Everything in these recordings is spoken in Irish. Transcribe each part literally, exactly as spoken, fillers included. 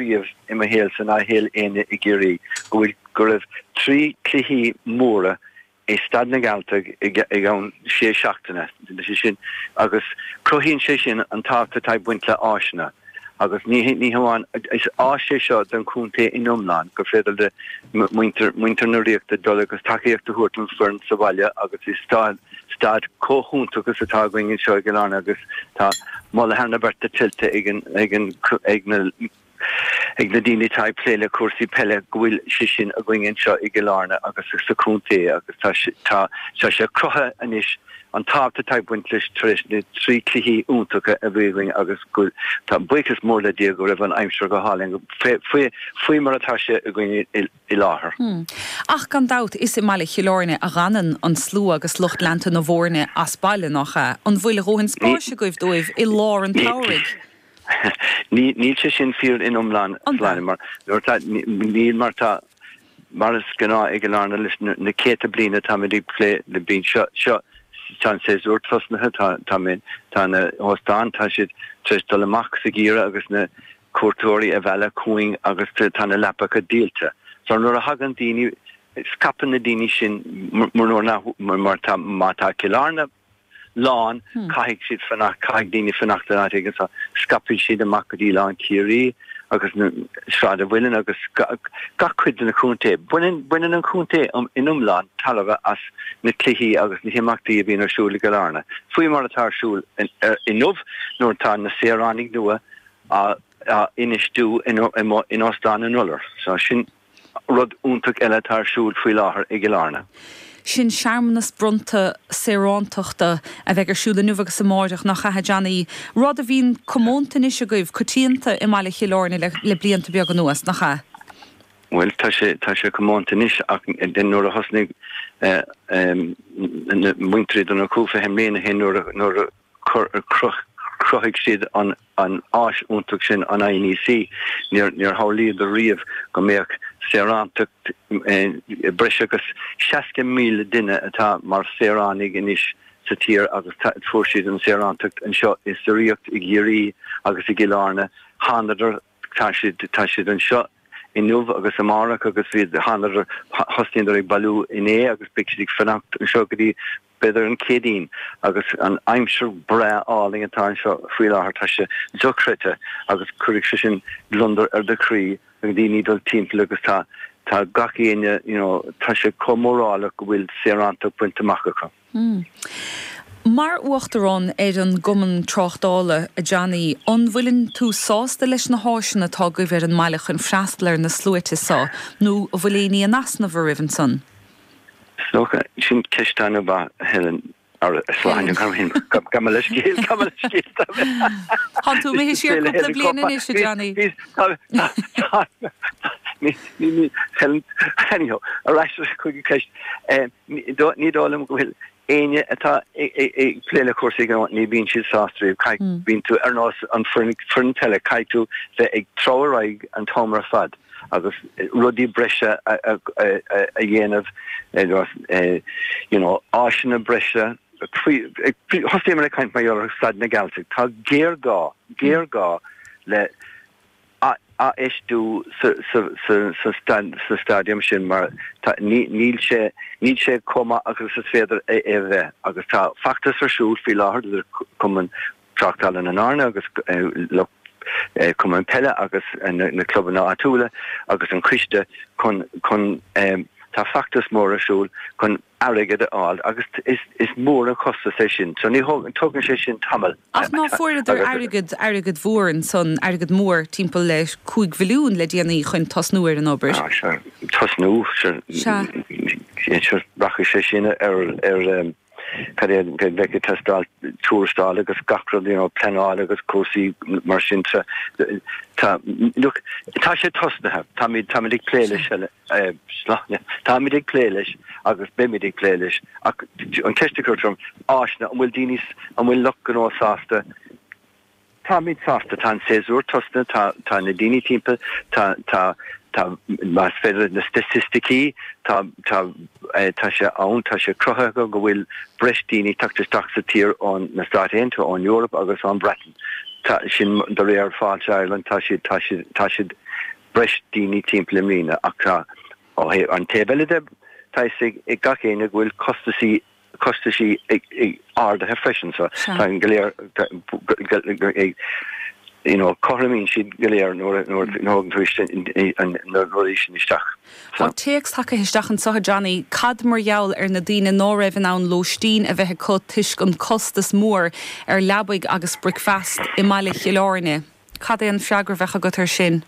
riamh i mo shaolsa ná shaol éinne i gCiarraí go bhfuil go raibh trí cluichí móra i Staid na nGealtach i gceann sé seachtaine sé sin agus cruthaíonn sé sin an tábhacht atá ag baint le áiseanna agus ní ní hamháin is áis é seo don chontae in iomlán gur féidir le muintir muintir na ríochta dul agus tacaíocht a thabhairt don fhoireann sa bhaile agus is staid staid chomh hiontach is atá againn anseo i gCill Airne agus tá moladh thar na bearta tuillte ag an ag an ag na ag na daoine atá ag plé le cúrsaí peile go bhfuil sé sin againn anseo i gCill Airne agus sa chontae agus tá tá tá sé cruthaithe anois an tábhacht atá ag baint leis tar éis na trí cluichí iontacha a bhí againn agus go tá buíochas mór le Dia go raibh an aimsir go hálainn faoi faoi mar atá sé againn i, i láthair. Hmm. Ach gan dabht is i mbaile Chill Airne a dtagann an slua agus lucht leanta na bhfoirne as baile nach ea. An bhfuil a dhóthain spáis agaibh dóibh i lár an tsamhraidh? Ní níl sé sin fíor in iomlán sláine mar nuair tá níl mar tá mar is gnáth ag an Airne leis na céadta bliana táimid ag plé le bíonn seo seo tá an séasúr tosnaithe tá tá mé tá na hóstáin tá siad tar éis dul amach sa gheimhreadh agus na cuairteoirí a mhealladh chugainn agus tá na leapacha díolta. So nuair a thagann daoine scaipeann na daoine sin mar mar tá má tá Cill Airne lán hmm. caithfidh siad fanacht caithfidh daoine fanacht an áit agus scaipfidh siad amach go dtí lán Ciarraí agus na Sráid an Mhuilinn agus gach cuid den chontae. Baineann baineann an contae um in iomlán tairbhe as na cluichí agus na himeachtaí a bhíonn ar siúl i gCill Airne. Faoi mar atá ar siúl inniu nuair atá na saoránaigh nua á á infheistiú in in Óstán an Iolair. So sin rud iontach eile atá ar siúl faoi láthair i gCill Airne. Sin searmanas bronnta saorántachta a bheidh ar siúl inniu agus amárach nach ea a Johnny. Rud a bhíonn comónta anois agaibh coitianta i mbaile Chill Airne le, le blianta beaga anuas nach ea. Well tá sé tá sé comónta anois ach den nuair a thosnaigh muintir Uí Dhonnchú fiche mbliana ó shin nuair nuair chruthaigh siad an an áis iontach sin an INEC níor níor shamhlaíodar riamh go mbeadh saorántacht breis agus seasca míle duine atá mar saoránaigh anois sa tír agus fuair siad an saorántacht anseo i sa Ríocht i gCiarraí agus i gCill Airne thánadar tá siad tá siad anseo inniu agus amárach agus bhí thánadar thosnaíodar ag bailiú inné agus beidh siad ag fanacht anseo go dtí b'fhéidir an Chéadaoin agus an aimsir breá álainn atá anseo faoi láthair tá sé dochreidte agus cuirfidh sé sin gliondar ar do chroí agus daoine dul timpeall agus tá tá gach éinne you know tá sé chomh mórálach go bhfuil saorántacht bainte amach acu. Mm. Mar uachtarán ar an gCumann Tráchtála a Johnny, an bhfuileann tú sásta leis na háiseanna atá agaibh ar an mbaile chun freastal ar na sluaite seo nó an bhfuil aon ní in easnamh oraibh ansan? Is sin ceist an-mhaith Helen Sláine Gabh mo leithscéal Tá tú imithe siar cúpla bliain anois a Johnny. Helen anyhow ar ais chuig an ceist ní dóigh liom go bhfuil éinne atá ag plé le cúrsaí gnó ní bhíonn siad sásta riamh caithfidh bíonn tú ar nós an foireann peile caithfidh tú bheith ag treabhadh ar aghaidh an t-am ar fad agus rudaí breise a dhéanamh you know áiseanna breise Thosaíomar ag caint mar gheall ar Staid na nGealtach tá géarghá géarghá le infheistiú sa stadium sin mar níl sé níl sé chomh maith agus is féidir é a bheith agus tá feachtas ar siúl faoi láthair idir Cumann Tráchtála na nAirne agus lucht Cumann Peile agus na clubanna áitiúla agus an coiste chun chun tá feachtas mór ar siúl chun airgead a fháil agus is is mór an costas é sin so ní tógann sé sin tamall. Ach ná fuaireadar airgead airgead mhór ansan airgead mór timpeall le cúig mhilliún le déanaí chun tosnú ar an obair. Tosnú rachaidh sé sin ar ar cad é bheidh ag teastáil tuarastal agus gach rud you know pleanáil agus cúrsaí mar sin tá look tá sé tosnaithe táimid táimid ag plé leis Sláine táimid ag plé leis agus beimid ag plé leis ach an ceist a chuir tú orm áiseanna an bhfuil daoine an bhfuil lucht gnó sásta Táimid sásta, tá an séasúr tosnaithe, tá tá na daoine timpeall, tá tá tá más féidir na staitisticí, tá tá tá sé ann, tá sé cruthaithe go bhfuil breis daoine ag teacht isteach sa tír ón na Stáit Aontaithe, ón Eoraip agus ón Bhreatain. Tá sin de réir Fáilte Ireland tá siad tá siad tá siad breis daoine timpeall i mbliana ach tá ó thaobh an taobh eile de tá a fhios ag gach éinne go bhfuil costaisí costaisí ag ag ardaithe freisin so tá an go léir ag you know cothromaíonn siad go léir nuair nuair nuair tú an na rudaí sin isteach. Tá téacs tagtha isteach anseo a Johnny, cad mar gheall ar na daoine ná raibh in ann lóistín a bheith acu toisc an costas mór ar leabaidh agus bricfeast i mbaile Chill Airne? Cad é an freagra a bheadh agat air sin?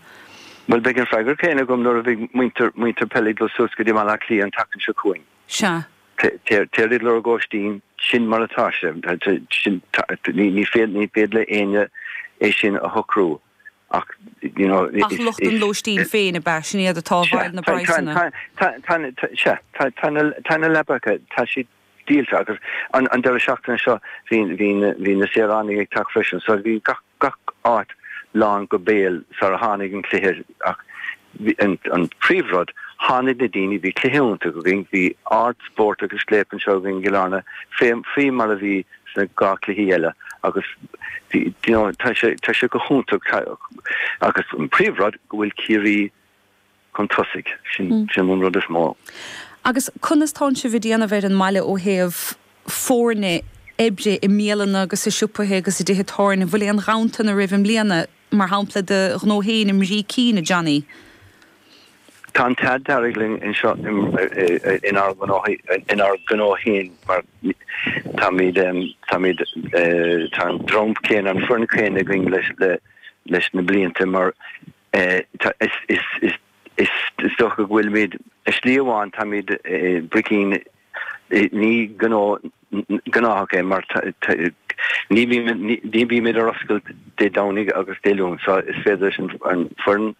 Bhuel beidh an freagra céanna agam nuair a bheidh muintir muintir peile ag dul suas go dtí Baile Átha Cliath an tseachtain seo chugainn. Sea. Téir ag lorg óistín, sin mar atá sé. Sin ní ní féidir ní féidir le éinne é sin a shocrú ach you know Ach lucht an lóistín féin ab ea, sin iad atá i bhfeighil na bpraghsanna. Sea, tá na tá na leapacha, tá siad díolta agus an an deireadh seachtaine seo bhí bhí bhí na saoránaigh ag teacht freisin so bhí gach gach áit lán go béal sar a tháinig an cluiche ach an an príomhrud tháinig na daoine bhí cluiche iontach againn bhí ard-spórt agus scléip anseo againn i gCill Airne fé faoi mar a bhí sna dhá cluichí eile agus bhí you know tá sé tá sé go hiontach agus an príomhrud go bhfuil Ciarraí chun tosaigh sin sin an rud is mó. Agus conas tánn sibh ag déanamh ar an mbaile ó thaobh foirne oibre i mbialanna agus i siopaithe agus i dtithe tábhairne? An bhfuil aon ghanntan oraibh i mbliana, mar shampla do ghnó féin i mBrícín, a Johnny? Tá an t-ádh dearg linn anseo inár ngnó inár ngnó féin mar táimid táimid tá an dream céanna an foireann chéanna againn leis le leis na blianta mar tá is is is is is dócha go bhfuilimid i slí amháin táimid Bricín ní gnó gnáthach é mar ní ní bhímid ar oscailt Dé Domhnaigh agus Dé Luain so is féidir leis an foireann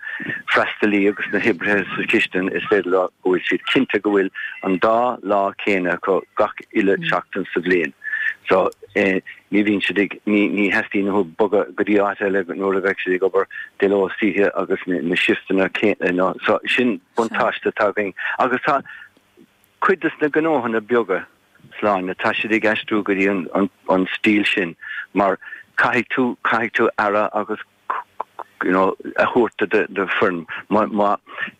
freastalaí agus na hoibrithe sa chistin is féidir leo go bhfuil siad cinnte go bhfuil an dá lá céanna acu gach uile seachtain sa bhliain. So eh, ní bhíonn siad ag ní ní theastaíonn uathu bogadh go dtí áit eile nuair a bheidh siad ag obair de ló is d'oíche agus na, na shifteanna céanna so sin buntáiste atá againn agus tá cuid de na gnóthanna beaga sláine tá siad ag aistriú go dtí an, an, an stíl sin mar caithfidh tú caithfidh tú aire agus you know, a thabhairt do do do foireann má má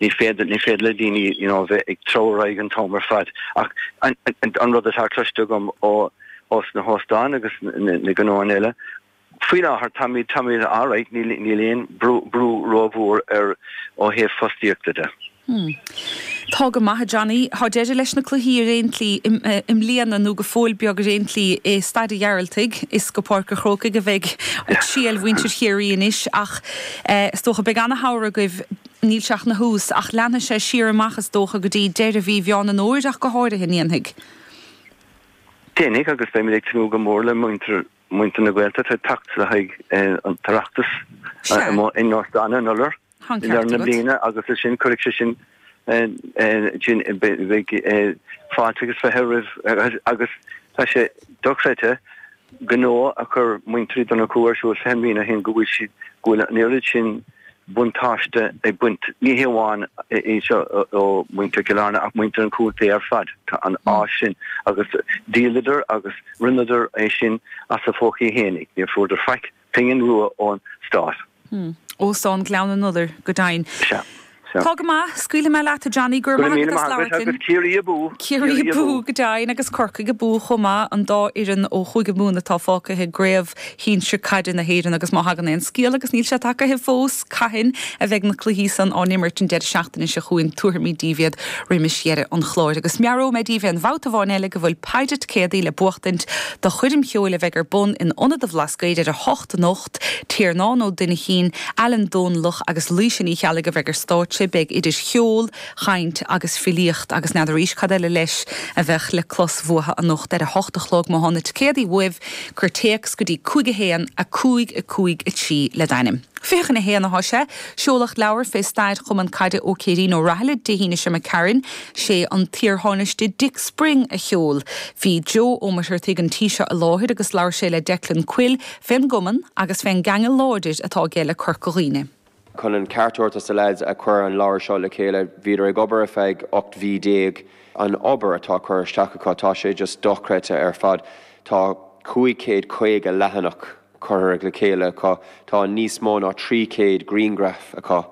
ní féidir ní féidir le daoine you know, bheith ag treabhadh an t-am ar fad ach an, an, an rud atá cloiste agam ó ó sna hóstáin agus na, na gnóanna eile faoi láthair táimid táimid alright níl níl aon brú brú rómhór ar ó thaobh fostaíochta de. Hmm. Tá go maith Johnny, Tá deireadh leis na cluichí ar aon tslí i mbliana nó go fóill beag ar aon tslí i Staid an Ghearaltaigh is go Páirc an Chrócaigh a bheidh triall mhuintir Chiarraí anois ach eh, is dócha beidh an-shamhradh agaibh níl sé ach ina thús ach leanfaidh sé siar amach is dócha go dtí deireadh mhí Mheán an Fhómhair ach go háirithe an ndéanfaidh. Déanfaidh agus beimid ag tnúth go mór le muintir muintir na Gaeltachta teacht le haghaidh eh, an tOireachtas in Óstán an Iolair Tá an i lár ceart na agat. bliana agus is sin cuirfidh sé sin sin beidh fáilte agus fiche roimh agus tá sé dochreidte gnó a chur muintir Uí Dhonnchú ar siúl fiche bliain ó shin go bhfuil siad go bhfuil an oiread sin buntáiste ag baint ní hé amháin é seo ó muintir Chill Airne ach muintir an chontae ar fad tá an áis sin agus dhíoladar agus rinneadar é sin as a phócaí fhéinig níor fuaireadar faic pingin rua ón stát. Hmm. Óstán Ghleann an Iolair go deimhin. Sea. Sea. Tá go maith, scaoilfidh mé leat a Johnny go Go raibh raibh maith míle agat as maith agat labhairt linn. agus Ciarraí abú. Ciarraí Ciarraí abú abú. go deimhin agus Corcaigh abú chomh maith an dá fhoireann ó Chúige Mumhan atá fágtha i gcraobh shinsir caide na hÉireann agus má thagann aon scéal agus níl sé tagtha fós cathain a bheidh na cluichí san á n-imirt an deireadh seachtaine seo chugainn tabharfaimid daoibh iad roimis dheireadh an chláir agus meabhróidh mé daoibh aon bhabhta amháin eile go bhfuil paide ticéadaí le buachtaint do choirm cheoil a bheidh ar bun in Ionad an Bhlascaoid ar a hocht anocht Tiarnán Ó Duinchín, Alan Dónlach agus Laoise Ní Cheallaigh a bheidh ar stáitse beidh idir cheol, chaint agus filíocht agus n'fheadar arís cad eile leis a bheadh le clos uathu anocht ar a hocht a chlog má tá na ticéadaí uaibh cuir téacs go dtí cúig a haon a cúig a cúig a trí le d'ainm. Fiche chun a haon atá sé, seoladh leabhar fé stair Chumann Caide Ó Céirín Ó Rathaille Dé hAoine seo Karen, sé an t-iarthánaiste Dick Spring a sheol. Bhí Joe Ó Muircheartaigh an tí seo i láthair agus labhair sé le Declan Quill fén gcumann agus fén gceangal láidir atá aige le Corca Dhuibhne. Chun an ceart a thabhairt do na lads a chuir an leabhar seo le chéile, bhíodar ag obair ar feadh ocht mhí déag an obair atá curtha isteach acu tá sé just dochreidte ar fad. Tá cúig chéad caoga leathanach curtha le chéile acu. Tá níos mó ná trí chéad grianghraf acu.